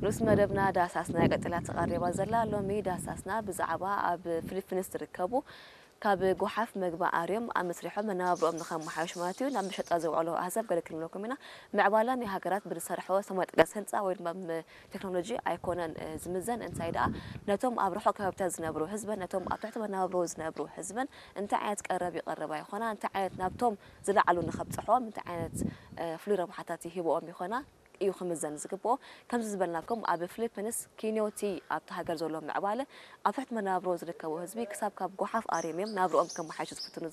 ንኡስ መደብና ዳሳስና ቀጢላ ተቐሪባ ዘላ። ሎሚ ዳሳስና ብዛዕባ ኣብ ፊሊፒንስ ዝርከቡ ካብ ጓሓፍ መግቢ ኣርዮም ኣብ መስሪሖም መነባብሮኦም ንኸመሓየሹ ማለት እዩ ናብ መሸጣ ዘውዕሎ ኣህዛብ ገለ ክንብለኩም ኢና። ምዕባለ ናይ ሃገራት ብዝሰርሖ ሰማይ ጠቀስ ህንፃ ወይ ድማ ቴክኖሎጂ ኣይኮነን ዝምዘን፣ እንታይ ደኣ ነቶም ኣብ ርሑቕ ከባቢታት ዝነብሩ ህዝበን ነቶም ኣብ ትሕቲ መነባብሮ ዝነብሩ ህዝበን እንታይ ዓይነት ቀረብ ይቐርባ ይኾና፣ እንታይ ዓይነት ናብቶም ዝለዓሉ ንኸብፅሖም እንታይ ዓይነት ፍሉይ ረብሓታት ይህብኦም ይኾና እዩ ክምዘን ዝግብኦ። ከምዚ ዝበልናኩም ኣብ ፊሊፒንስ ኪንዮቲ ኣብቲ ሃገር ዘሎ ምዕባለ ኣብ ትሕቲ መነባብሮ ዝርከቡ ህዝቢ ክሳብ ካብ ጓሓፍ ኣርዮም እዮም ናብርኦም ከመሓይሹ ዝፍትኑ